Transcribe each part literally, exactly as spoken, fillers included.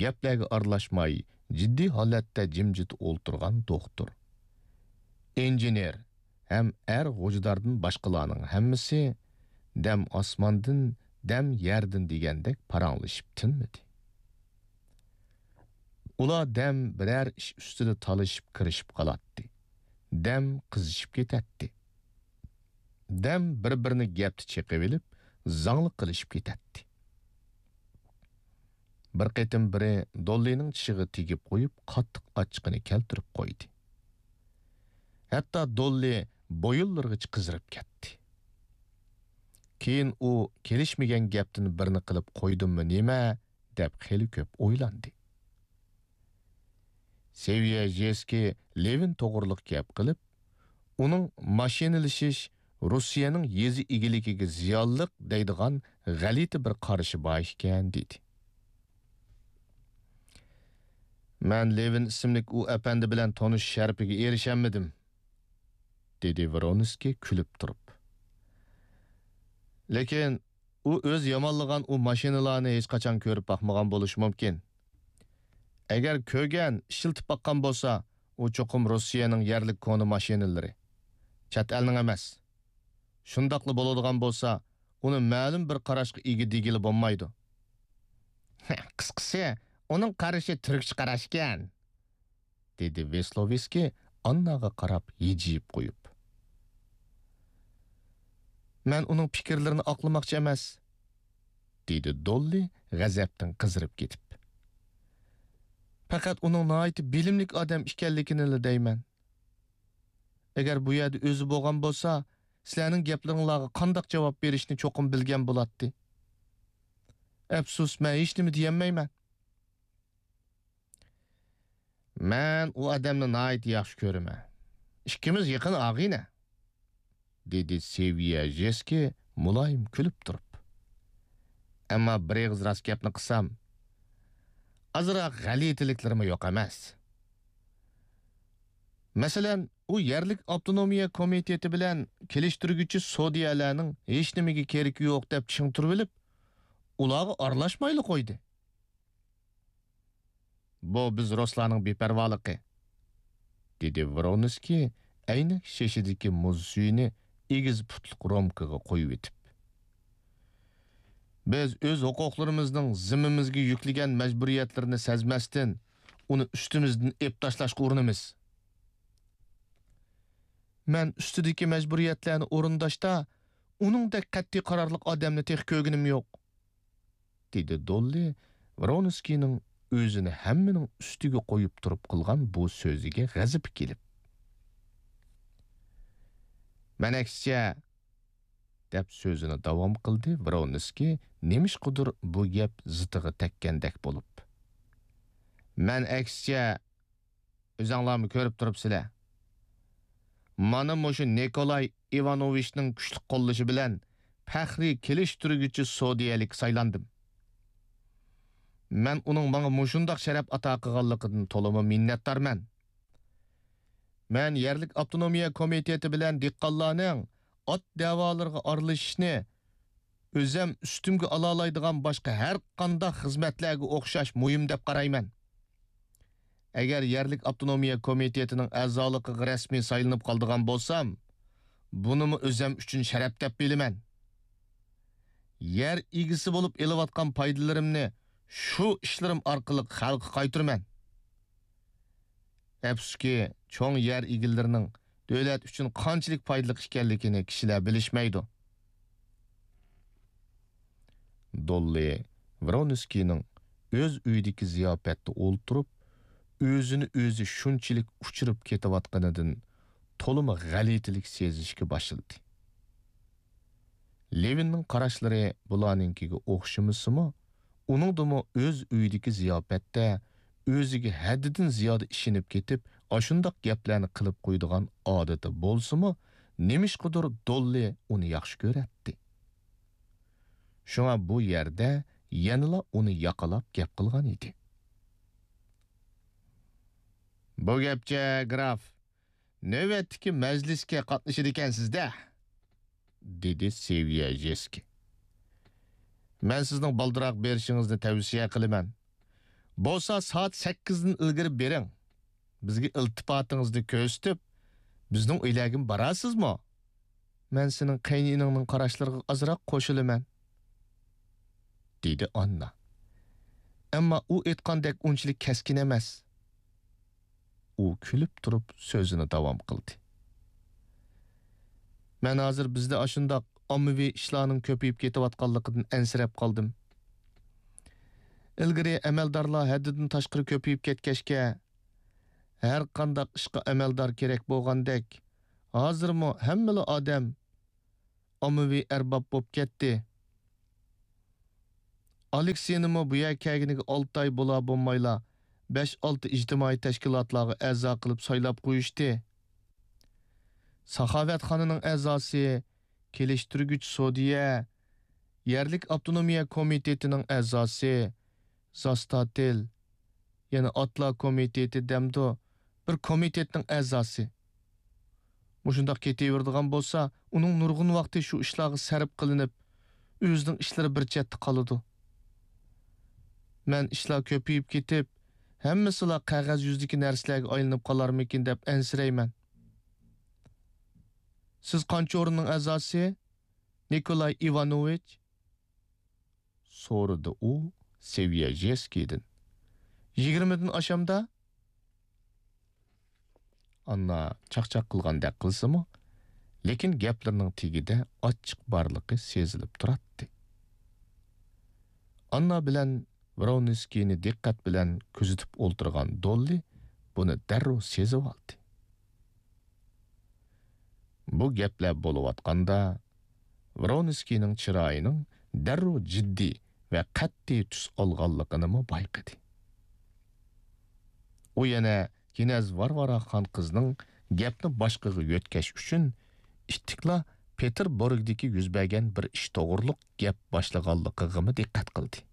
گەپلەرگە ئارىلاشماي، جىددىي ھالەتتە جىمجىت ئولتۇرغان دوختۇر، ئىنژېنېر ھەم ئەر غوجىداردىن باشقىلارنىڭ ھەممىسى دەم ئاسماندىن، دەم يەردىن دېگەندەك پاراڭلىشىپ تىنمىدى. ئۇلار دەم بىرەر ئىش ئۈستىدە تالىشىپ، كىرىشىپ قالاتتى. دەم قىزىشىپ كېتەتتى. دەم بىر-بىرىنى گەپتە چېقىۋېلىپ، زاڭلىق قىلىشىپ كېتەتتى. بىر قېتىم بىرى دوللىنىڭ چىشىغا تېگىپ قويۇپ، قاتتىق ئاچچىقىنى كەلتۈرۈپ قويدى. ھەتتا دوللى بويۇنلىرىغىچە قىزىرىپ كەتتى. كېيىن ئۇ كېلىشمىگەن گەپتىن بىرنى قىلىپ قويدۇممۇ نېمە دەپ خېلى كۆپ ئويلاندى. سېۋيەژېسكىي لېۋىن توغرۇلۇق گەپ قىلىپ، ئۇنىڭ ماشىنىلىشىش روسىيەنىڭ يېزا ئىگىلىكىگە زىيانلىق دەيدىغان غەلىتە بىر قارىشى بار ئىكەن، دېدى. مەن لېۋىن ئىسىملىك ئۇ ئەپەندى بىلەن تونۇشۇش شەرىپىگە ئېرىشەلمىدىم، دېدى ۋرونسكىي كۈلۈپ تۇرۇپ. لېكىن ئۇ ئۆزى يامانلىغان ئۇ ماشىنىلارنى ھېچقاچان كۆرۈپ باقمىغان بولۇشى مۇمكىن. ئەگەر كۆرگەن، ئىشلىتىپ باققان بولسا، ئۇ چوقۇم روسىيەنىڭ يەرلىك كونا ماشىنىلىرى. چەت ئەلنىڭ ئەمەس. شۇنداقلا بولىدىغان بولسا، ئۇنى مەلۇم بىر قاراشقا ئىگە دېگىلى بولمايدۇ. قىسقىسى، ئۇنىڭ قارىشى تۈركچە قاراشكەن، دېدى ۋېسلوۋسكىي ئانناغا قاراپ ھىجىيىپ قويۇپ. مەن ئۇنىڭ پىكىرلىرىنى ئاقلىماقچى ئەمەس، دېدى دوللى غەزەپتىن قىزىرىپ كېتىپ. پەقەت ئۇنىڭ ناھايىتى بىلىملىك ئادەم ئىكەنلىكىنىلا دەيمەن. ئەگەر بۇ يەردە ئۆزى بولغان بولسا، سىلەرنىڭ گەپلىرىڭلارغا قانداق جاۋاب بېرىشنى چوقۇم بىلگەن بولاتتى. ئەپسۇس، مەن ھېچنېمە دېيەلمەيمەن. مەن ئۇ ئادەمنى ناھايىتى ياخشى كۆرىمەن. ئىككىمىز يېقىن ئاغىنە، دېدى سېۋيەژېسكىي مۇلايىم كۈلۈپ تۇرۇپ. ئەمما بىر ئېغىز راست گەپنى قىلسام، ئازراق غەلىتىلىكلىرىمۇ يوق ئەمەس. مەسىلەن، ئۇ يەرلىك ئاپتونومىيە كومىتېتى بىلەن كېلىشتۈرگۈچى سودىيەلەرنىڭ ھېچنېمىگە كېرىكى يوق دەپ چىڭ تۇرۇۋېلىپ، ئۇلارغا ئارىلاشمايلا قويدى. بۇ بىز رۇسلارنىڭ بىپەرۋالىقى، دېدى ۋرونسكىي ئەينەك شېشىدىكى مۇز سۈيىنى ئېگىز پۇتلۇق رومكىغا قۇيۇۋېتىپ. بىز ئۆز ھوقۇقلىرىمىزنىڭ زىممىمىزگە يۈكلىگەن مەجبۇرىيەتلىرىنى سەزمەستىن، ئۇنى ئۈستىمىزدىن ئېلىپ تاشلاشقا ئۇرۇنىمىز. مەن ئۈستىدىكى مەجبۇرىيەتلەرنى ئورۇنداشتا، ئۇنىڭدەك قەتئىي قارارلىق ئادەمنى تېخى كۆرگىنىم يوق. دېدى دوللى ۋرونسكىينىڭ ئۆزىنى ھەممىنىڭ ئۈستىگە قويۇپ تۇرۇپ قىلغان بۇ سۆزىگە غەزىپى كېلىپ. مەن ئەكسىچە، دەپ سۆزىنى داۋام قىلدى ۋرونسكىي نېمىشقىدۇر بۇ گەپ زىتىغا تەگكەندەك بولۇپ. مەن ئەكسىچە، ئۆزەڭلارمۇ كۆرۈپ تۇرۇپسىلەر. مانا مۇشۇ نىكولاي ئىۋانوۋىچنىڭ كۈچلۈك قوللىشى بىلەن پەخرىي كېلىشتۈرگۈچى سودىيەلىككە سايلاندىم. مەن ئۇنىڭ ماڭا مۇشۇنداق شەرەپ ئاتا قىلغانلىقىدىن تولىمۇ مىننەتدارمەن. مەن يەرلىك ئاپتونومىيە كومىتېتى بىلەن دېھقانلارنىڭ ئات دەۋالىرىغا ئارىلىشىشنى ئۆزەم ئۈستۈمگە ئالالايدىغان باشقا ھەر قانداق خىزمەتلەرگە ئوخشاش مۇھىم دەپ قارايمەن. ئەگەر يەرلىك ئاپتونومىيە كومىتېتىنىڭ ئەزالىقىغا رەسمىي سايلىنىپ قالىدىغان بولسام، بۇنىمۇ ئۆزەم ئۈچۈن شەرەپ دەپ بىلىمەن. يەر ئىگىسى بولۇپ ئېلىۋاتقان پايدىلىرىمنى شۇ ئىشلىرىم ئارقىلىق خەلققە قايتۇرىمەن. ئەپسۇسكى، چوڭ يەر ئىگىلىرىنىڭ دۆلەت ئۈچۈن قانچىلىك پايدىلىق ئىكەنلىكىنى كىشىلەر بىلىشمەيدۇ. دوللى ۋرونسكىينىڭ ئۆز ئۆيىدىكى زىياپەتتە ئولتۇرۇپ، ئۆزىنى ئۆزى شۇنچىلىك ئۇچۇرۇپ كېتىۋاتقىنىدىن تولىمۇ غەلىتىلىك سېزىشكە باشلىدى. لېۋىننىڭ قاراشلىرى بۇلارنىڭكىگە ئوخشىمىسىمۇ، ئۇنىڭدىمۇ ئۆز ئۆيىدىكى زىياپەتتە ئۆزىگە ھەددىدىن زىيادە ئىشىنىپ كېتىپ، ئاشۇنداق گەپلەرنى قىلىپ قويىدىغان ئادىتى بولسىمۇ، نېمىشقىدۇر دوللى ئۇنى ياخشى كۆرەتتى. شۇڭا بۇ يەردە يەنىلا ئۇنى ياقىلاپ گەپ قىلغان ئىدى. بۇ گەپچە، گراف، نۆۋەتتىكى مەجلىسكە قاتنىشىدىكەنسىز-دە، دېدى سېۋيەژېسكىي. مەن سىزنىڭ بالدۇراق بېرىشىڭىزنى تەۋسىيە قىلىمەن. بولسا سائەت سەككىزدىن ئىلگىرى بېرىڭ. بىزگە ئىلتىپاتىڭىزنى كۆرسىتىپ، بىزنىڭ ئۆيلەرگىمۇ بارارسىزمۇ؟ مەن سېنىڭ قېيىنئىنىڭنىڭ قاراشلىرىغا ئازراق قوشۇلىمەن، دېدى ئاننا. ئەمما ئۇ ئېيتقاندەك ئۇنچىلىك كەسكىن ئەمەس. ئۇ كۈلۈپ تۇرۇپ سۆزىنى داۋام قىلدى. مەن ھازىر بىزدە ئاشۇنداق ئاممىۋى ئىشلارنىڭ كۆپىيىپ كېتىۋاتقانلىقىدىن ئەنسىرەپ قالدىم. ئىلگىرى ئەمەلدارلار ھەددىدىن تاشقىرى كۆپىيىپ كەتكەچكە، ھەر قانداق ئىشقا ئەمەلدار كېرەك بولغاندەك، ھازىرمۇ ھەممىلا ئادەم ئاممىۋى ئەرباب بولۇپ كەتتى. ئالېكسىينىمۇ بۇ يەرگە كەلگىنىگە ئالتە ئاي بولا بولمايلا، بەش-ئالتە ئىجتىمائىي تەشكىلاتلارغا ئەزا قىلىپ سايلاپ قويۇشتى. ساخاۋەتخانىنىڭ ئەزاسى، كېلىشتۈرگۈچ سودىيە، يەرلىك ئاپتونومىيە كومىتېتىنىڭ ئەزاسى، زاستاتېل، يەنە ئاتلا كومىتېتى دەمدۇ، بىر كومىتېتنىڭ ئەزاسى. مۇشۇنداق كېتىۋېرىدىغان بولسا، ئۇنىڭ نۇرغۇن ۋاقتى شۇ ئىشلارغا سەرپ قىلىنىپ، ئۆزىنىڭ ئىشلىرى بىر چەتتە قالىدۇ. مەن ئىشلار كۆپىيىپ كېتىپ، ھەممىسىلا قەغەز يۈزىدىكى نەرسىلەرگە ئايلىنىپ قالارمىكىن دەپ ئەنسىرەيمەن. سىز قانچە ئورۇننىڭ ئەزاسى، نىكولاي ئىۋانوۋىچ؟ سورىدى ئۇ سېۋيەژېسكىدىن. يىگىرمىدىن ئاشامدا؟ ئاننا چاقچاق قىلغاندەك قىلسىمۇ، لېكىن گەپلىرىنىڭ تېگىدە ئاچچىق بارلىقى سېزىلىپ تۇراتتى. ئاننا بىلەن ۋرونسكىينى دىققەت بىلەن كۆزىتىپ ئولتۇرغان دوللى بۇنى دەررۇ سېزىۋالدى. بۇ گەپلەر بولۇۋاتقاندا، ۋرونسكىينىڭ چىرايىنىڭ دەررۇ جىددىي ۋە قەتئىي تۈس ئالغانلىقىنىمۇ بايقىدى. ئۇ يەنە كىنەز ۋارۋارا خان قىزنىڭ گەپنى باشقىغا يۆتكەش ئۈچۈن ئىتتىكلا پېتېربۇرگدىكى يۈز بەرگەن بىر ئىش توغرۇلۇق گەپ باشلىغانلىقىغىمۇ دىققەت قىلدى.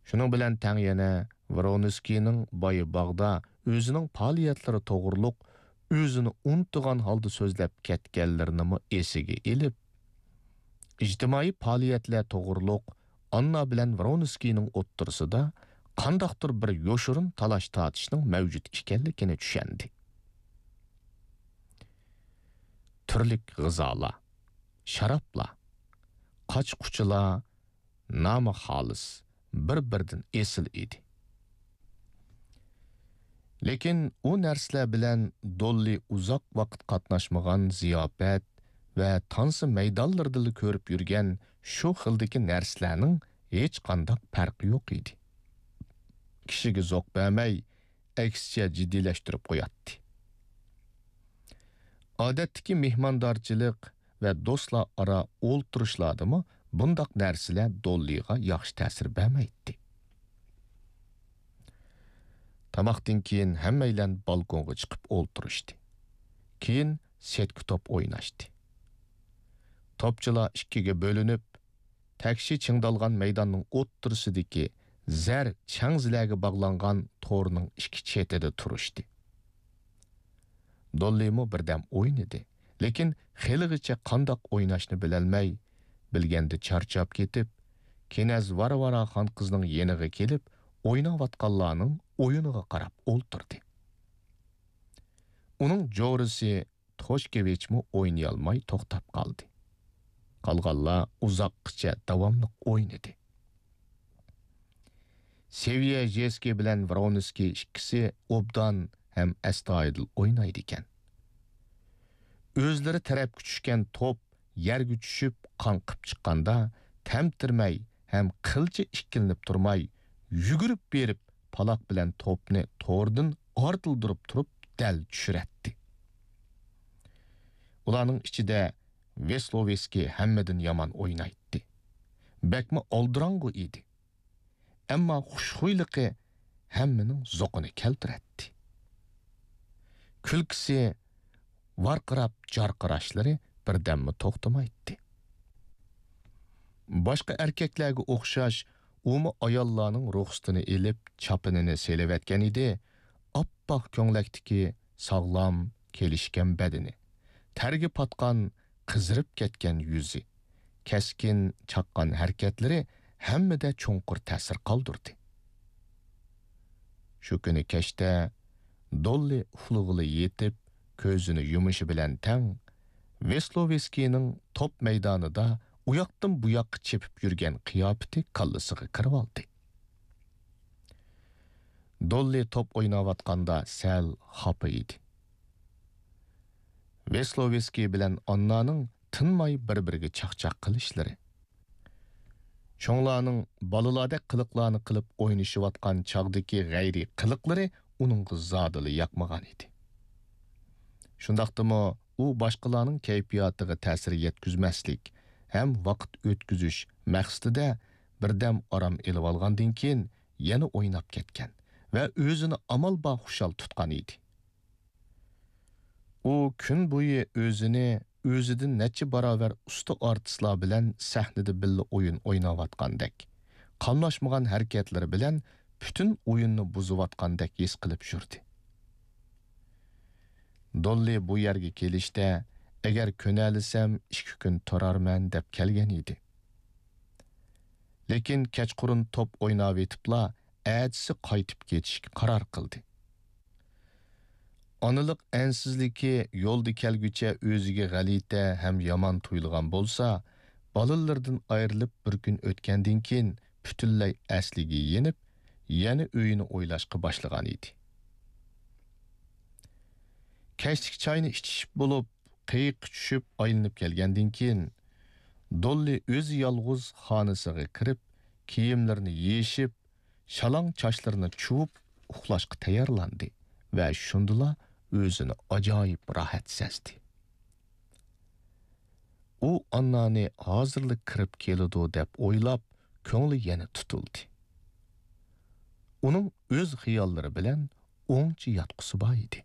شۇنىڭ بىلەن تەڭ يەنە ۋرونسكىينىڭ بايا باغدا ئۆزىنىڭ پائالىيەتلىرى توغرۇلۇق ئۆزىنى ئۇنتۇغان ھالدا سۆزلەپ كەتكەنلىرىنىمۇ ئېسىگە ئېلىپ، ئىجتىمائىي پائالىيەتلەر توغرۇلۇق ئاننا بىلەن ۋرونسكىينىڭ ئوتتۇرىسىدا قانداقتۇر بىر يوشۇرۇن تالاش-تارتىشنىڭ مەۋجۇت ئىكەنلىكىنى چۈشەندى. تۈرلۈك غىزالار، شارابلار، قاچا-قۇچىلار، نامى خالىس، بىر-بىرىدىن ئېسىل ئىدى. لېكىن ئۇ نەرسىلەر بىلەن دوللى ئۇزاق ۋاقىت قاتناشمىغان زىياپەت ۋە تانسا مەيدانلىرىدىلا كۆرۈپ يۈرگەن شۇ خىلدىكى نەرسىلەرنىڭ ھېچقانداق پەرقى يوق ئىدى. كىشىگە زوق بەرمەي، ئەكسىچە جىددىيلەشتۈرۈپ قوياتتى. ئادەتتىكى مېھماندارچىلىق ۋە دوستلار ئارا ئولتۇرۇشلاردىمۇ بۇنداق نەرسىلەر دوللىغا ياخشى تەسىر بەرمەيتتى. تاماقتىن كېيىن ھەممەيلەن بالكونغا چىقىپ ئولتۇرۇشتى. كېيىن سېتكا توپ ئويناشتى. توپچىلار ئىككىگە بۆلۈنۈپ، تەكشى چىڭدالغان مەيداننىڭ ئوتتۇرىسىدىكى زەر چەڭزىلەرگە باغلانغان تورنىڭ ئىككى چېتىدە تۇرۇشتى. دوللىمۇ بىردەم ئوينىدى، لېكىن خېلىغىچە قانداق ئويناشنى بىلەلمەي، بىلگەندە چارچاپ كېتىپ، كىنەز ۋارۋارا خان قىزنىڭ يېنىغا كېلىپ، ئويناۋاتقانلارنىڭ ئويۇنىغا قاراپ ئولتۇردى. ئۇنىڭ جورىسى توشكېۋىچمۇ ئوينىيالماي توختاپ قالدى. قالغانلار ئۇزاققىچە داۋاملىق ئوينىدى. سېۋيەژېسكىي بىلەن ۋرونسكىي ئىككىسى ئوبدان ھەم ئەستايىدىل ئوينايدىكەن. ئۆزلىرى تەرەپكە چۈشكەن توپ يەرگە چۈشۈپ قاڭقىپ چىققاندا، تەمتىرىمەي ھەم قىلچە ئىككىلىنىپ تۇرماي، يۈگۈرۈپ بېرىپ، پالاق بىلەن توپنى توردىن ئارتىلدۇرۇپ تۇرۇپ دەل چۈشۈرەتتى. ئۇلارنىڭ ئىچىدە ۋېسلوۋېسكىي ھەممىدىن يامان ئوينايتتى. بەكمۇ ئالدىراڭغۇ ئىدى. ئەمما خۇشخۇيلۇقى ھەممىنىڭ زوقىنى كەلتۈرەتتى. كۈلكىسى، ۋارقىراپ جارقىراشلىرى بىردەممۇ توختىمايتتى. باشقا ئەركەكلەرگە ئوخشاش، ئۇمۇ ئاياللارنىڭ رۇخسىتىنى ئېلىپ، چاپىنىنى سېلىۋەتكەن ئىدى، ئاپئاق كۆڭلەكتىكى ساغلام، كېلىشكەن بەدىنى، تەرگە پاتقان، قىزىرىپ كەتكەن يۈزى، كەسكىن چاققان ھەرىكەتلىرى ھەممىدە چوڭقۇر تەسىر قالدۇردى. شۇ كۈنى كەچتە دوللى ئۇخلىغىلى يېتىپ، كۆزىنى يۇمۇشى بىلەن تەڭ، ۋېسلوۋېسكىينىڭ توپ مەيدانىدا ئۇياقتىن بۇياققا چېپىپ يۈرگەن قىياپىتى كاللىسىغا كىرىۋالدى. دوللى توپ ئويناۋاتقاندا سەل خاپا ئىدى. ۋېسلوۋېسكىي بىلەن ئاننانىڭ تىنماي بىر-بىرىگە چاقچاق قىلىشلىرى، چوڭلارنىڭ بالىلاردەك قىلىقلارنى قىلىپ ئوينىشىۋاتقان چاغدىكى غەيرىي قىلىقلىرى ئۇنىڭغا زادىلا ياقمىغان ئىدى. شۇنداقتىمۇ ئۇ باشقىلارنىڭ كەيپىياتىغا تەسىر يەتكۈزمەسلىك ھەم ۋاقىت ئۆتكۈزۈش مەقسىتىدە بىردەم ئارام ئېلىۋالغاندىن كېيىن يەنە ئويناپ كەتكەن ۋە ئۆزىنى ئامال بار خۇشال تۇتقان ئىدى. ئۇ كۈن بويى ئۆزىنى ئۆزىدىن نەچچە باراۋەر ئۇستا ئارتىسلار بىلەن سەھنىدە بىللە ئويۇن ئويناۋاتقاندەك، قاملاشمىغان ھەرىكەتلىرى بىلەن پۈتۈن ئويۇننى بۇزۇۋاتقاندەك ھېس قىلىپ يۈردى. دوللى بۇ يەرگە كېلىشتە، ئەگەر كۆنەلىسەم، ئىككى كۈن تۇرارمەن دەپ كەلگەن ئىدى. لېكىن كەچقۇرۇن توپ ئويناۋېتىپلا، ئەتىسى قايتىپ كېتىشكە قارار قىلدى. ئانىلىق ئەنسىزلىكى يولدا كەلگۈچە ئۆزىگە غەلىتە ھەم يامان تۇيۇلغان بولسا، بالىلىرىدىن ئايرىلىپ بىر كۈن ئۆتكەندىن كېيىن پۈتۈنلەي ئەسلىگە يېنىپ، يەنە ئۆيىنى ئويلاشقا باشلىغان ئىدى. كەچلىك چاينى ئىچىشىپ بولۇپ، قېيىققا چۈشۈپ ئايلىنىپ كەلگەندىن كېيىن، دوللى ئۆزى يالغۇز خانىسىغا كىرىپ، كىيىملىرىنى يېشىپ، شالاڭ چاچلىرىنى چۇۋۇپ ئۇخلاشقا تەييارلاندى ۋە شۇندىلا ئۆزىنى ئاجايىپ راھەت سەزدى. ئۇ ئاننانى ھازىرلا كىرىپ كېلىدۇ دەپ ئويلاپ، كۆڭلى يەنە تۇتۇلدى. ئۇنىڭ ئۆز خىياللىرى بىلەن ئوڭچە ياتقۇسى بار ئىدى.